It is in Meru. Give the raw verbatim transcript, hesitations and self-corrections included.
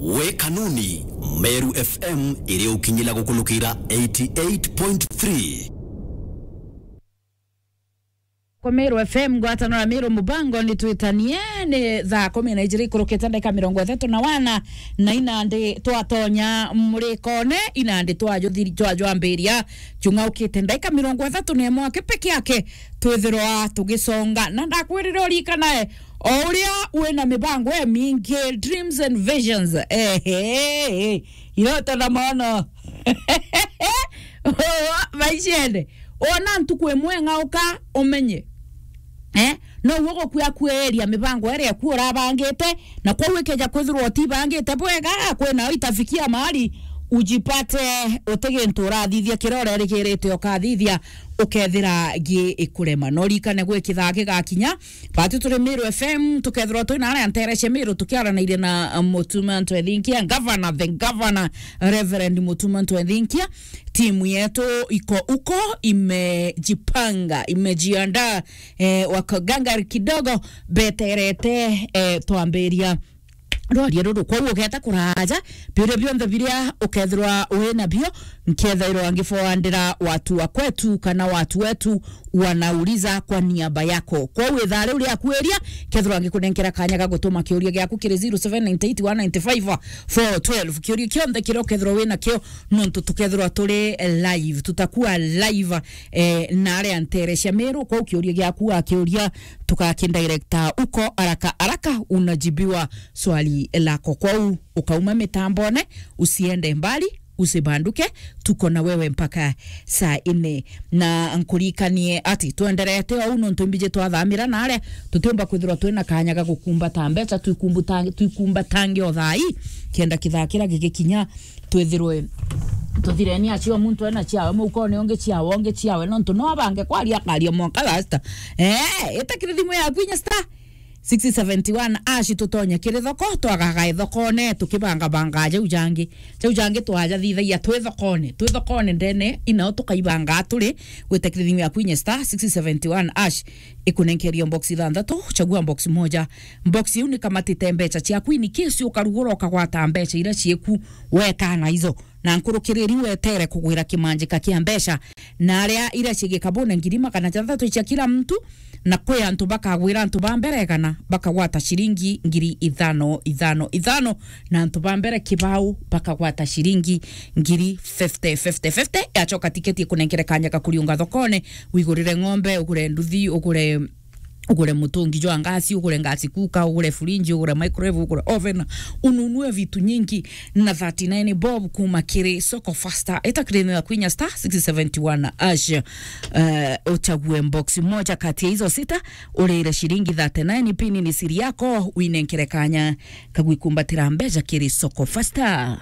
We Kanuni, Meru F M iri ukinyila gukulukira eighty eight point three. Kwa Meru F M, ngwataniro ya Meru Mubango, ni twitanie, ni thaa kumi na ijiri ikurukite ndagika mirongo ithatu na wana, na inandi twatonya murikone, inandi twajuthiri-, twajwambiria, chung'aukite ndagika mirongo ithatu na imwe aki peke yake, twithirwa tugisonga. Na ndakwirire urikanae, o uria wina mibango imingi, dreams and visions, ehe, iroto na maono maishene, ona ntuku imwe ng'auka umenye, eh, no uo gukuya kueria mibango iria eku urabangite, na kwou ikeja kwithirwa utibangite bwega, kwina itafikia mahali ujipate uti gintu urathithia kiria urerigirite ukathithia, ukethira gi ikurema. No urikane gwi kithaa gigakinya, batu turi Meru F M, tukethirwa twi na aria ntere cia Meru tukiaranairia na, uh, Mutuma Ntwethinkia, Governor, the Governor, Reverend Mutuma Ntwethinkia. Timu yetu iko uko, imejipanga, imejiandaa, eh, wakagangari kidogo, beterete, eh, twambiria rwaria ruru. Kwou ugeta kuraja, biuria bionthe biria ukethirwa wi nabio, nkethairwa ngifoandira watu wa kwetu kana watu wetu wanauliza kwa niaba yako. Kwou ithaa riu riaku iria, kethirwa ngikunenkera kanya ga gutuma kiuria giaku kiri zero seven nine eight one nine five four twelve. Kiuria kionthe kiria ukethirwa wi nakio, nontu tukethirwa turi live, tutakuwa live, eh, na aria ntere cia Meru. Kwou kiuria giaku akiuria, tukakindirecta uko haraka haraka, unajibiwa swali lako. Kwou ukauma mitambone, usiende mbali, usibanduke, tuko na wewe mpaka saa nne. Na nkurikanie ati twenderete ou nontu mbiji twathamira na aria tutiumba kwithirwa twina kanya ga gukumbata mbeca, twikumbuta-, twikumbatange o thaa ii, kenda kithaa kiria gigikinya twithirwe tuthireni acio, muntu ena ciawe, mukone ungi ciawe, ungi ciawe, nontu no abange kwaria akaria mwanka last. Eh, itakire thimu yaku inya star six seventy one ash, tutonye kiri thoko, twagaga thokone, tukibangabanga jau jangi. Jau jangi twaja thithagia twi thokone, twi thokone ndene, inao tukaibanga turi, gwita kiri thimu yaku inya star six seventy one ash, ikunenkeria box ithanthatu, chagua box moja. Box iu ni kamatite mbeca ciaku, in case ukarugura ukagwata mbeca iria cieku, wekana izo. Na nkurukiriri wetere kugwira kimanjika kia mbeca, na aria iria cigikabune ngiri magana jathatu cia kila mtu, na kwi antu bakagwira antu ba mbere igana bakagwata ciringi ngiri ithano, ithano, ithano, na antu ba mbere kibao bakagwata ciringi ngiri fifty, fifty, fifty. Yacoka tiketi ikunenkere kanya ga kuriunga thokone, wigurire ng'ombe, ugure nduthi, ugure ugure mutungi jwa ngasi, ugure ngasi kuka, ugure fridge, ugure microwave, ugure oven, ununue vitu nyingi na thirty nine bob kuma kiri Soko Fasta. Ita kiri thimu yaku inya star six seventy one ash, eh, uchague box moja kati ya hizo sita, urire shilingi thirty nine, pini ni siri yako, winenkere kanya kagwikumbatira mbeca kiri Soko Fasta.